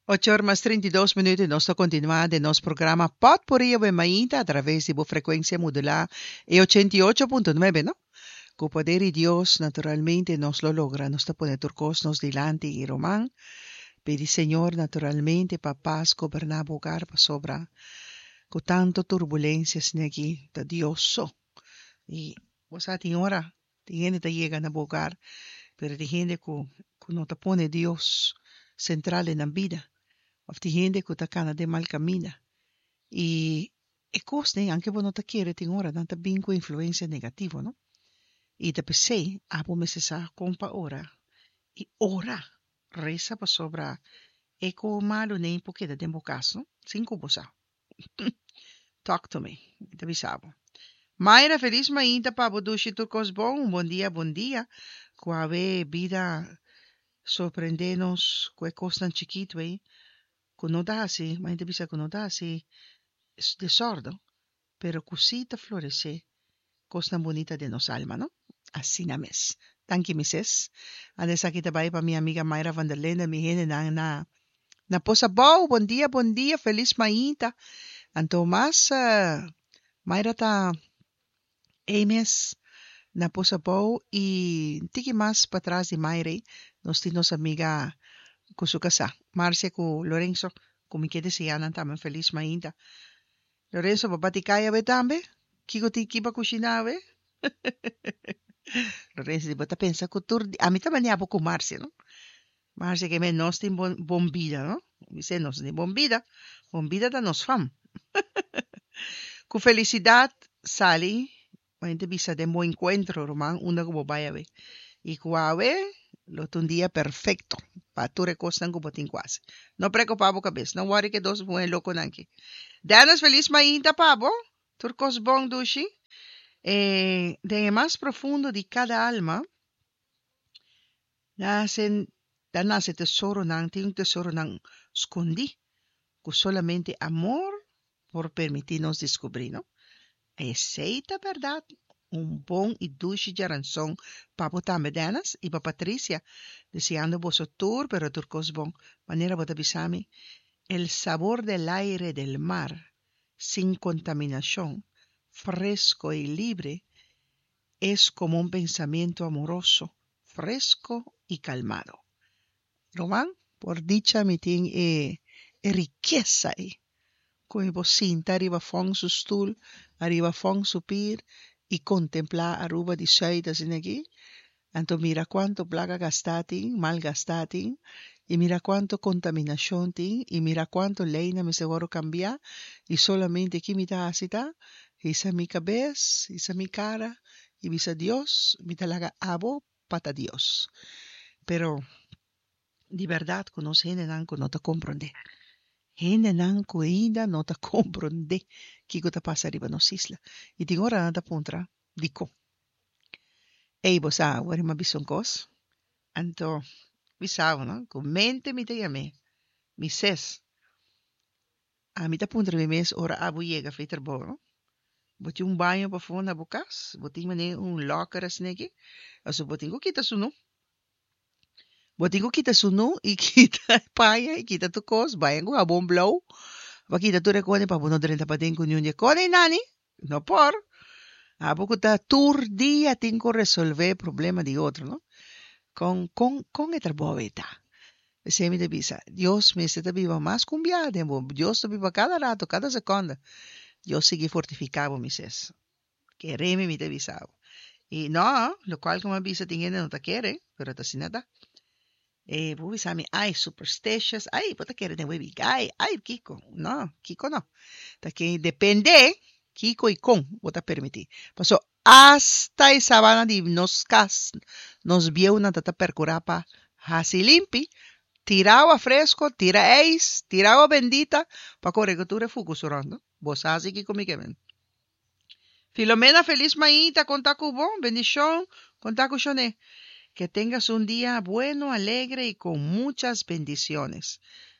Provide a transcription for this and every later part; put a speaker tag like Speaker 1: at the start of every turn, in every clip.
Speaker 1: Ocho or mas 32 minuut y nos ta continua den nos programa Potpourri Awe Mainta a traves di bo frecuencia modula e 88.9, no? Cu poder di Dios, naturalmente, nos lo logra. Nos ta pone tur cos nos dilanti y ruman pidi Señor, naturalmente, pa paz goberna bo hogar pasobra cu tanto turbulencia asina aki ta Dios so. Y bo sa tin ora tin hende ta yega na bo hogar pero tin hende cu cu no ta pone Dios central den nan bida of tin hende cu ta cana den mal caminda y e cosnan aunke bo no ta kere tin ora nan ta bin cu influencia negativo no y ta pesey abo mester sa con pa ora y ora reza pasobra e cu malo nei por keda den bo cas no sin cu bo sa. Talk to me. Mi ta bisa bo. Mayra, felis mainta pa bo dushi tur kos bon. Un bon dia, bon dia. Ku awe bida sorprende nos ku e kosnan chikitu ei ku no ta hasi, ma hende ta bisa ku no ta hasi desòrdu, pero ku sí ta floresé kosnan bunita den nos alma, no? Asina mes. Danki mi ses. Anda esaki ta bai pa mi amiga Mayra van der Linden, mi hendenan na na Pos Abou. Bon dia, bon dia, felis mainta. Anto mas Mayra ta ei mes na Pos Abou i tiki mas patras di Mayra ei nos tin nos amiga ku su kasá, Marcia ku Lorenzo, ku mi ke deseá nan tambe un felis mainta. Lorenzo, bo bati kai awe tambe? Kiko tin ki pa kushiná awe? Lorenzo di, bo ta pensa ku tur di, ami ta manera bo ku Marcia, no? Marcia ke men nos tin bon, bon bida, no? Mi se nos tin bon bida, bon bida ta nos fam. Ku felisidat sali, bo ta bisa den bo enkuentro, ruman, unda ku bo bai awe. I ku awe lo ta un dia perfekto pa tur e kosnan ku bo tin ku hasi. No preokupá bo kabes, no wòri ku e dos muhé lokonan aki. Dennis, felis mainta pa bo. Tur kos bon, dushi. E den e mas profundo di kada alma nase, ta nase tesoronan, tin un tesoronan skondí ku solamente amor por permití nos deskubrí, no? Esei ta bèrdat! Un bon i dushi djaranson pa bo tambe, Dennis, i pa Patricia. Deseando boso tur, pero tur kos bon. Manera bo ta bisa mi, El sabor del aire del mar, sin kontaminashon, fresko i libre, es komo un pensamiento amoroso, fresko i kalmado. Ruman, por dicha mi tin e e rikesa ei, ku mi por sinta riba fòn su stul, ariba fòn su pir i kontemplá Aruba di sùit asina aki, anto mira kuantu plaka gastá tin, mal gastá tin, i mira kuantu kontaminashon tin, i mira kuantu leinan mester wòrdu kambiá, i solamente ki mi ta hasi ta hisa mi kabes, hisa mi kara i bisa Dios, mi ta laga abo pa ta Dios. Pero di berdad cu nos hendenan cu no ta comprende. Hendenan cu ainda no ta comprende kico ta pasa riba nos isla. Y tin ora nan ta puntra dicon. Ey bo sa awor mi a bisa un cos? Anto bisa bo no cu mente mi ta yam'e mi ses. Ami ta puntra mi mes ora abo yega fei trabou no. Bo tin un baño pafó na bo kas? Bo tin manera un locker asina aki? Pasobra bo tin ku kita sunú. Bo tin ku kita sunú i kita paña i kita tur kos, baña ku habon blou pa kita tur e kos pa bo no drenta paden ku niun di e kos. Ei nani, no por. Abo ku ta tur dia tin ku resolvé problema di otro no. Kon kon kon e trabou ei ta? P'esei mi ta bisa, Dios mester ta biba mas ku un biaha den bo. Dios ta biba kada rato, kada sekonda. Dios sigui fortifiká bo, mi ses. Kere mi, mi ta bisa bo. I no, lokual ku mi a bisa tin hende no ta kere, pero ta asina ta. E bo bisa mi, ai, superstitious, ai, bo ta kere den webi gai, ai, kiko. No, kiko no. Ta ke depende kiko i kon bo ta permití. Paso Asta e sabana di nos kas, nos bieunan ta ta perkurá pa hasi limpi, tira awa fresko, tira eis, tira awa bendita pa kore ku tur e fukus rònt. Bo sa hasi kiko mi ke men. Filomena felis mainta kon ta ku bo? Bendishon kon ta ku shon'é. Que tengas un dia bueno, alegre y con muchas bendiciones.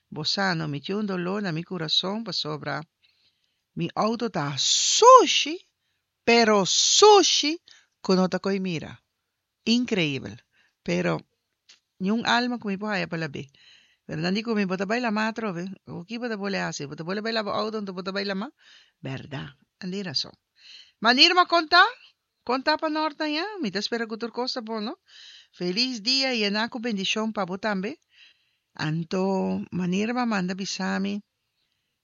Speaker 1: Bo sa no, mi tin un dolor na mi kurason pasobra mi outo ta sushi Pero sushi ku no ta koi mira. Inkreibel. Pero niun alma ku mi por haya pa lab'é. Pero nan di ku mi, bo ta bai lamá atrobe. Awor ki bo ta bole hasi? Bo ta bole bai laba outo anto bo ta bai lamá? Bèrdat, nan tin rason. Ma Nirma kon ta? Kon ta pa nòrt aña? Mi ta spera ku tur kos ta bon, no? Felis dia yená ku bendishon pa bo tambe. Anto ma Nirma manda bisa mi,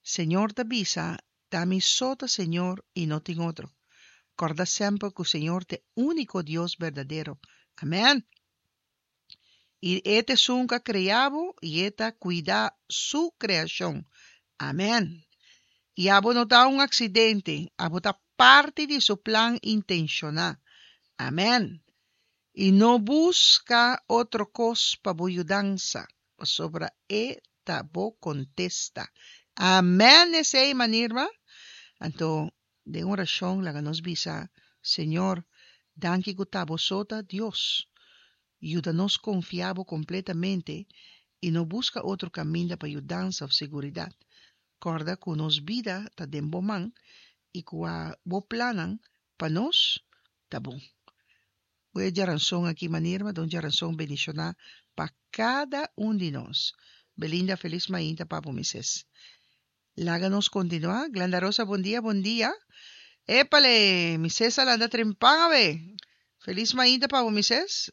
Speaker 1: Señor ta bisa, Ta mi so ta Señor i no tin otro. Kòrda semper ku Señor ta e úniko Dios berdadero. Amèn! I e ta esun ku a krea bo i e ta kuida su kreashon. Amèn! I abo no ta un aksidente, abo ta parti di su plan intenshoná. Amèn! I no buska otro kos pa bo yudansa, pasobra e ta bo kontesta. Amèn! Esei, Manirma. Anto, den orashon laga nos bisa, Señor, danki ku ta bo so ta Dios. Yuda nos konfia bo kompletamente i no buska otro kaminda pa yudansa òf seguridat. Kòrda ku nos bida ta den bo man i ku a bo plannan pa nos ta bon. Ku e djaranson aki manera ta un djaranson bendishoná pa kada un di nos. Belinda felis mainta pa bo mises. Laga nos kontinuá. Glenda Rosa bon dia bon dia. Epale mises a landa trempan awe. Felis mainta pa bo mises.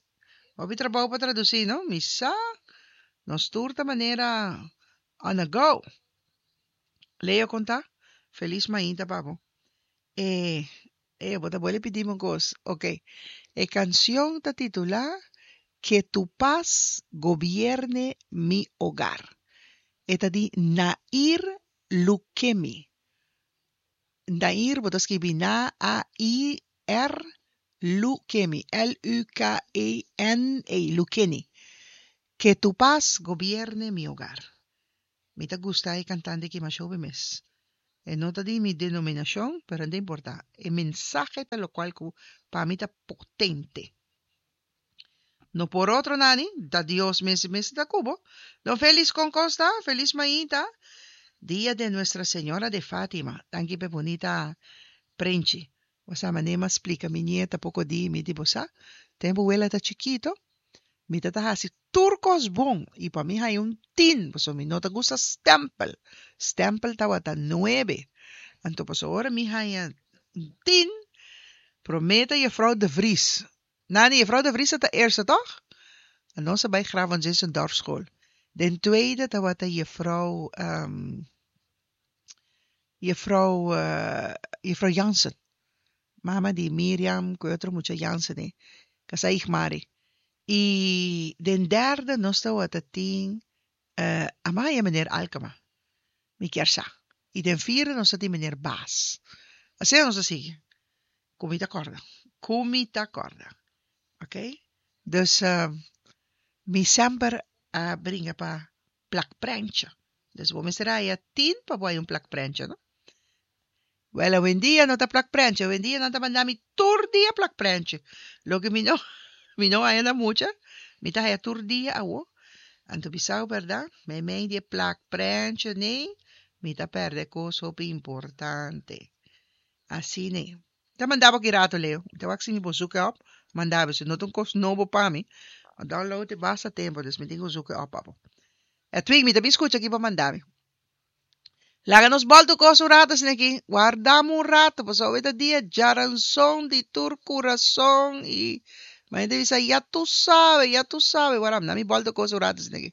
Speaker 1: Hopi trabou pa tradusí no. Mi sa nos tur ta manera on a go. Leo kon ta? Felis mainta pa bo. E e bo ta bolbe pidi mi un kos. Ok. E kanshon ta titulá Que tu paz gobierne mi hogar. E ta di Nair Lukemi. Nair bo ta skibi N-A-I-R Lukemi, L-U-K-E-N-I, Lukeni. Que tu paz gobierne mi hogar. Mi ta gusta e kantante aki masha hopi mes. E no ta di mi denominashon, pero no ta importa. E mensahe ta lokual ku pa mi ta potente. No por otro nani, ta Dios mes mes ta ku bo. Don Felis kon kos ta? Felis mainta. Dia de Nuestra Señora de Fátima. Danki p'e bunita prenchi. Bo sa manera mi a splika mi nieta poko di mi di bo sa, tempu wela ta chikito, Mi ta ta hasi tur kos bon i pa mi haña un tin, pasobra mi no ta gusta stèmpel. Stèmpel tabata nuebe. Anto pasobra ora mi haña un tin, promé ta Jefrou de Vries. Nani, Jefrou de Vries ta ta eerste tòg? Nos a bai Graaf van Zinzendorfschool. Den tweede tabata Jefrou, Jefrou, Jefrou Jansen. Mama di Miriam ku e otro mucha Jansen ei, kasá Igmari. I den derde nos tawata tin Amaya meneer Alkema, mi kier sa. I den vierde nos ta tin meneer Baas. Asina nos ta sigui. Ku mi ta kòrda. Ku mi ta kòrda. Oké. Dus mi semper a bringa pa plakprentje. Dus bo mester haya tin pa bo haya un plakprentje, no? Wel, awendia no ta plakprentje. Awendia nan ta manda mi tur dia plakprentje. Loke mi no, mi no haya na mucha, mi ta haya tur dia awo. Anto bisao bèrdat, meimei di e plakprentje nei, mi ta pèrdè kos hopi importante. Asina ei. Ta manda bo ki rato, Leo. Mi ta wak si mi por zoek e op, manda bo. Si no ta un kos nobo pa mi, a download e basta tempu, dus mi tin ku zoek e op pa bo. Edwin, mi ta bin skucha ki bo manda mi. Laga nos bòltu kos un rato asin'aki. Wardam un rato, pasobra awe ta dia djaranson di tur kurason i mi ta bisa, ya tu sabe, ya tu sabe. Wardam, na mi bòltu kos un rato asin'aki.